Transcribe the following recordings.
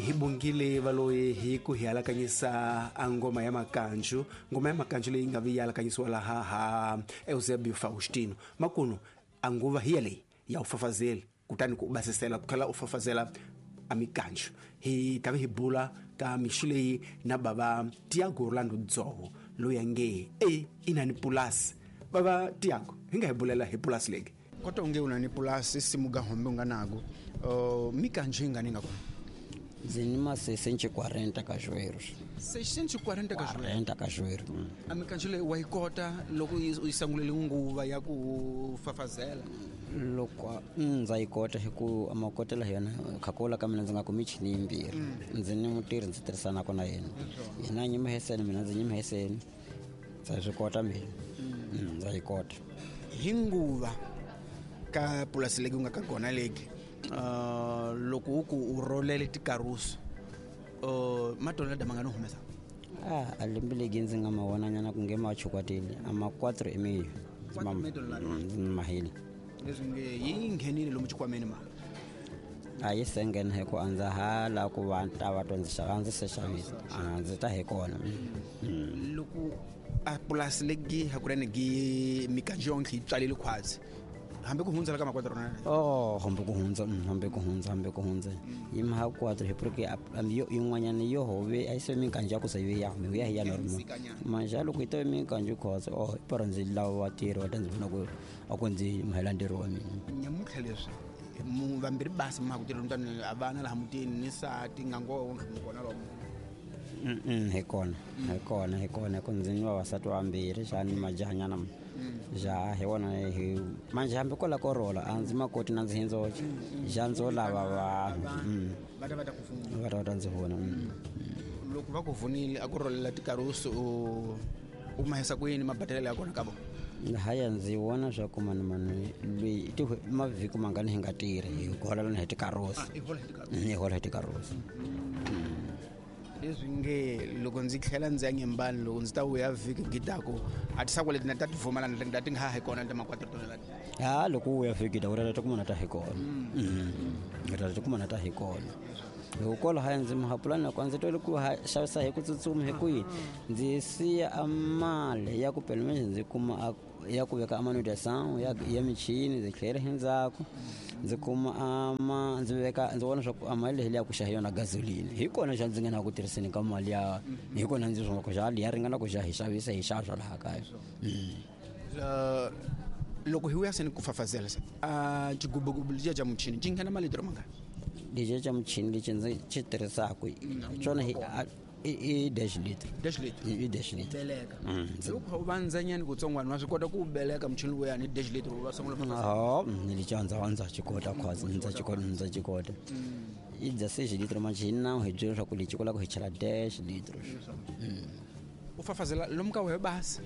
Hi bongile valoyi hi ku hi alakanyisa a ngoma ya makanju, ngoma ya makanju leyi nga vi yi alakanyisiwa laha ha Eusebio Faustino. Makunu a nguva hi yaleyi ya u fafazeli, kutani ku u basisela ku tlhela u fafazela a mikanju. Hi ta vi hi bula ka mixo leyi na bava Tiago Orlando Dzoho, loyi a nge e i na ni pulasi. Bava Tiago, hi nga hi bulela hi pulasi leyi? Kota unge u na ni pulasi simu ga hombe u nga nago, mikanju yi nga ni nga kona? Ndzi ni ma 640 cajueiros. 640 cajueiros? 40 cajueiros. A mikanju leyi wa yi kota loko u yi sangulele nguva ya ku fafazela? Loko ndza yi kota hi ku a makotela hi yona khakola ka mina ndzi nga ku michini yimbirhi. Ndzi ni mutirhi ndzi tirhisanaka na yena. Yena a nyima heseni, mina ndzi nyima heseni. Ndza swi kota mina. Ndza yi kota. Hi nguva ka pulasi legi u nga ka kona legi, loko u ku u rolele tikarusu, matonela ma nga no humesa? A lembe legi ndzi nga ma vonanyana ku nge ma chukwatile, a ma quatro e meio. Quatro e meio tonelada. Mahile. Leswi nge yi nghenile lomu xikhwameni ma? A yi se nghena hi ku a ndza ha la ku va ta va to ndzi xava, a ndzi se xavisa. A ndzi ta hi kona. Loko a pulasi legi hakunene gi mikanju yonke yi tswalile khwatsi, hambi ku hundza la ka makwatro rona? Oh, hambi ku hundza, hambi ku hundza, hambi ku hundza. Yi ma kwatro hi porque a yo yin'wanyana yo hove a yi se mikanju ya ku se yo ya hume, ya hi ya normal. Manje loko yi to mikanju khwatsi, oh, para ndzi lava vatirhi va ta ndzi pfuna ku a ku ndzi mhela ntirho wa mina. Nyamuntlha leswi mu vambirhi basi ma ku tirha mutani a vana laha mutini ni sati nga ngo wonke mu kona lomu. Hi kona, hi kona, hi kona, ku ndzi ni vavasati vambirhi xa ni majahanyana ma. Ja hi wona hi manje hambi ko la ko rola a ndzi makoti na ndzi hindzoxe. Ja ndzo lava vanhu. Va ta va ta ku pfuna. Va ta va ta ndzi pfuna. Loko va ku pfunile a ku rolela tikarusu u mahisa ku yini mabadalelo ya kona ka vona? Haya ndzi vona swa ku mani mani loyi ti mavhiki mangani hi nga tirhi hi hola hi tikarusu. Ah, i hola hi tikarusu. Hi hola hi tikarusu. Leswi nge loko ndzi tlhela ndzi ya nyembani loko ndzi ta vuya vhiki gidako a ti sako leti na ta ti vumela na ti nga ha hi kona ta makwatro tona leti. Ha loko u vuya vhiki gidako ta kuma na ta hi kona. Ta ti kuma na ta hi kona. Loko kwala haya ndzi mahapulani loko ndzi twele ku xavisa hi ku tsutsuma hi ku yini ndzi siya a mali ya ku pela manje ndzi kuma a ya ku veka amanutenção ya michini ndzi tlhela hi ndzhaku ndzi kuma ama ndzi veka ndzi vona swa ku a mali leyi ya ku xava yona gasoline hi kona xa ndzi nga na ku tirhiseni ka mali ya hi kona ndzi swa ku xa ya ringana ku xa hi xavisa hi xava swa laha kaya. Loko hi vuya se ni ku fafazela se a xigubugubu lexiya xa muchini xi nghena malitro mangani? Lexiya xa muchini lexi ndzi xi tirhisaka xona hi a i dash liter. Dash liter. I dash liter. Beleka. Loko u vandzanyana kutsongwana wa swi kota ku beleka muchini luya ni dash liter u va sungula ku fafazela. Ha, ni li ndza ndza xi kota khwazi, ndza xi kota, ndza xi kota. I dya sex liter manje hi nawu hi byela leswaku lexi ku lava ku hi chela dash liter. U fafazela lomu ka wehe basi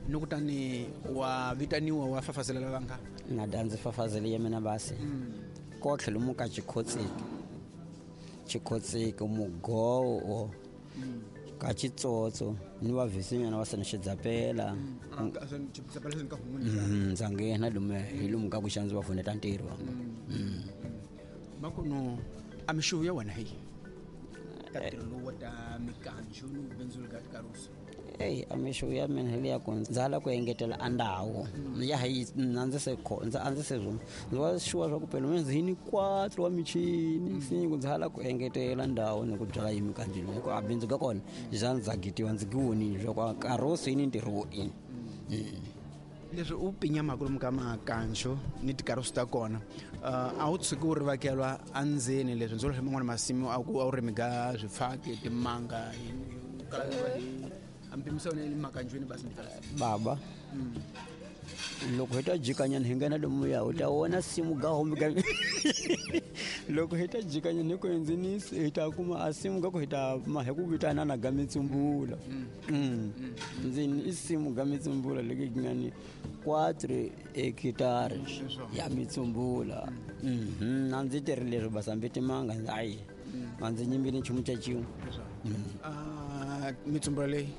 ni kutani wa vitaniwa wa fafazela lava nga. Na da ndzi fafazele ya mina basi. Kotlhe lomu ka xikhotseki. Xikhotseki mugowo ka xitsotso ni va vhisinyana va sena xidzapela. Ndza nghena lomu hi lomu ka ku xa ndzi va pfuneta ntirho wa nga. Makuno a mixuvu ya wena hi ka ntirho lowu wa ta mikanju ni vubindzuli ka tikarusu. Eyi, a mixuvu ya mina hi leya ku ndza la ku engetela a ndhawu. Ya hi na ndzi se kho, ndza a ndzi se zwo. Ndzi va sure swa ku phela mina ndzi ni quatro wa michini. Se ku ndza la ku engetela ndhawu ni ku byala yi mikanju leyi. Ku a bindzu ka kona, xa ndza gitiwa ndzi gi vonile swa ku a karusu yi ni ntirho wo ini. Leswi u pinyamaka lomu ka makanju ni tikarusu ta kona, a wu tshuki u rivakelwa endzeni leswi ndzi vula man'wana masimu a ku a wu rimi ka swifaki, timanga, yini, u kala u va hi a mpimiso ya wena yi le makanjwini basi ni tikarusu. Baba, loko hi ta jikanyana hi nghena lomuya u ta vona simu ga hombe ga loko hi ta jikanyana hi ku endzeni hi ta kuma a simu ga ku hi ta ma hi ku vitana na ga mitsumbula. Ndzeni i simu ga mitsumbula leki yi nga ni 4 hekitari ya mitsumbula. Na ndzi tirhi leswi basa hambi timanga ndzi ayi a ndzi nyimbile nchumu xa xin'we. Mitsumbula leyi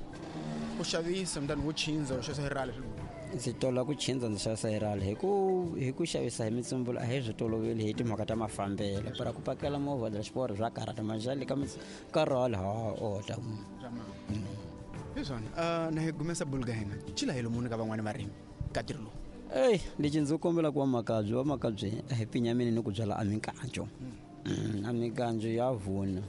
u xavisa mutani wo chinza u xavisa hi rhali swilo. Ndzi tola ku chindza ndzi xavisa hi rali hi ku xavisa hi mitsumbula a hi swi toloveli hi timhaka ta mafambelo para ku pakela movha dya xiporo swa karhata manjhani ka ka rali ha ota. Hi swona, na hi gumesa bulu ka hina cila hi lomuni ka van'wani varimi ka ntirho lowu. Eyi, lexi ndzi kombelaka vamakabye, vamakabye a hi pinyamini ni ku byala a mikanjo. A mikanjo ya vuna.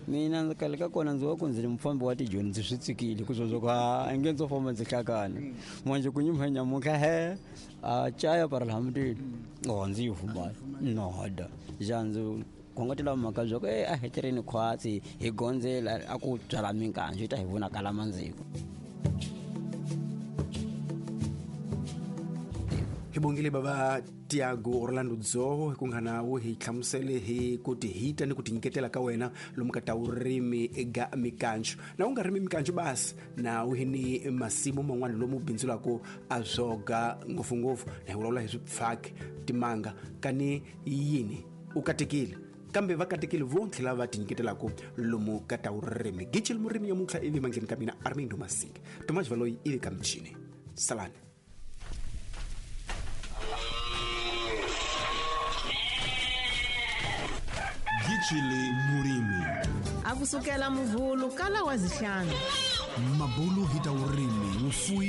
Mina ndzi kale ka kona ndzi wa ku ndzi ri mufambi wa tijoni, ndzi swi tsikile ku sweswo ku a nge ndzo famba ndzi hlakana manje ku nyimha nyamutlha he a caya para laha mutini o ndzi yi fumala noda ja ndzi khongotela mhaka bya ku e a hi tirheni khwatsi hi gondzela a ku byala minkanjo yi ta hi vonakala mandziko. Hi bongile bava Tiago Orlando Dzoho hi ku nga nawu hi hlamusele hi ku tihita ni ku tinyiketela ka wena lomu ka ta vurimi eka mikanjo na u nga rimi mikanjo basi na u hi ni masimu man'wana lomu bindzulaka a swoga ngopfungopfu na hi vulavula hi swipfaki timanga kani yini u katekile kambe va katekile vo tlhela va tinyiketelaka lomu ka ta vurimi. Gicil murimi yamuntlha ivi mandleni ka mina Armindo Masinga Tomas Valoyi ivi ka michini salani. Gicile Murimi. A kusukela muvhulu kala wa zihlanu. Mabulu hi ta vurimi vufuwi.